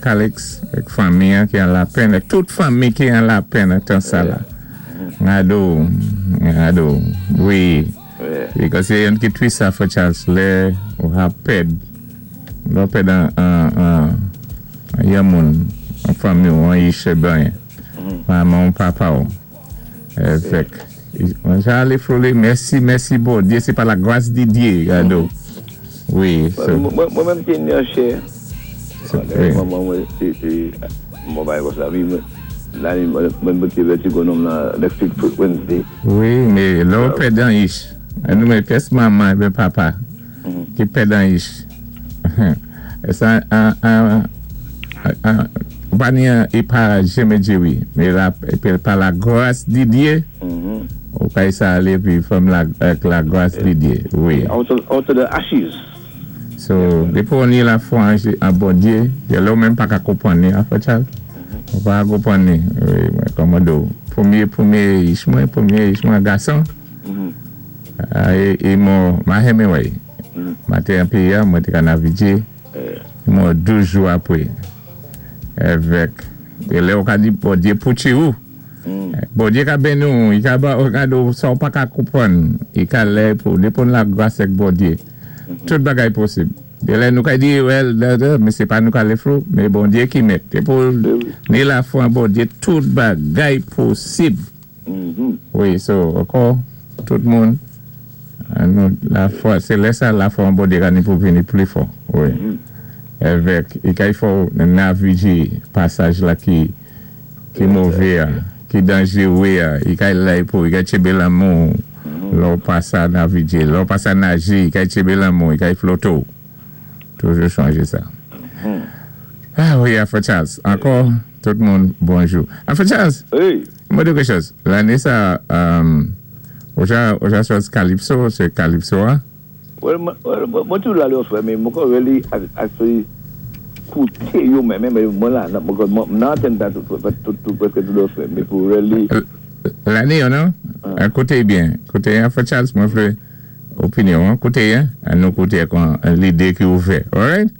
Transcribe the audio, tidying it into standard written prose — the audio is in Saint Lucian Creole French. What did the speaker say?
Calix, èk fanmi ki an lapenn, èk tout fanmi ki an lapenn tan sa la. Gado, gado, wi. Because sé youn ki tris sa, Frè Charles, lè ou ka pèd, lè ou pèd an yon moun, an fanmi ou, an yichè ben, manman ou, papa ou. Fèk, jan ale mèsi, mèsi Bondyé, sé pa lagras di Dyé, gado. Wi. Mwen menm té ni an chè. Manman mwen, mwen bay kon sa, mwen té vètigo nonm nan next week Wednesday. Wi, mé lè ou pèd an yich, nou mé pyès manman èben papa ki pèd an yich. Sa an ou pa ni an é pa jenmen djé wi, mé la pa lagras di Dyé, ou kay sa alé pi fòm lagras di Dyé, wi. Out of the ashes. So, dépi ou ni lafwa an Bondyé, lè ou menm pa ka konpwann ni, an, Frè Charles? Ou pa ka konpwann ni, wi, mwen kòman do, pwémyé yich mwen gason, é mò, ma Hemingway, ma té an péyi a, mwen té ka navidjé, mò 12 jou apwé, èvèk, é lè ou ka di Bondyé pouti ou, Bondyé ka béni ou, i ka ba ou gado, sa ou pa ka konpwann, i ka lè pou, dépi ou lagras èk Bondyé, tout bagay posib. Dé lè nou ka di, well, mé sé pa nou ka lé flou, mé Bondyé ki mèt. Dépi ou ni lafwa an Bondyé, tout bagay posib. Wi, so, ankò, tout moun, nou lafwa, sé lè sa lafwa an Bondyé ka ni pou vini pli fò. Wi. Èvèk, i kay fò navijé pasaj la ki mové a, ki danjéwé a, i kay lay pou, i kay tjébé lanmen ou, lè ou pa sa navijé, lè ou pa sa najé, i kay tjébé lanmen ou, i kay floté ou. Toujou chonjé sa. Ah wi, Frè Charles, ankò, tout moun, bonjou. Frè Charles, mwen di kèk chòz. Lanné sa, ou ja chwazi Calypso, sé Calypso a? Well, mwen toujou la lè frè, mé mwen kon really actually kouté yo menm, mé mwen la, mwen nan antèn ta tout, tout, tout, prèské tout lè frè, mé pou really. Lanné yo, non? Kouté byen, kouté, Frè Charles, mwen vlé opinyon, kouté, an nou kouté kon lidé ki ouvè, alright?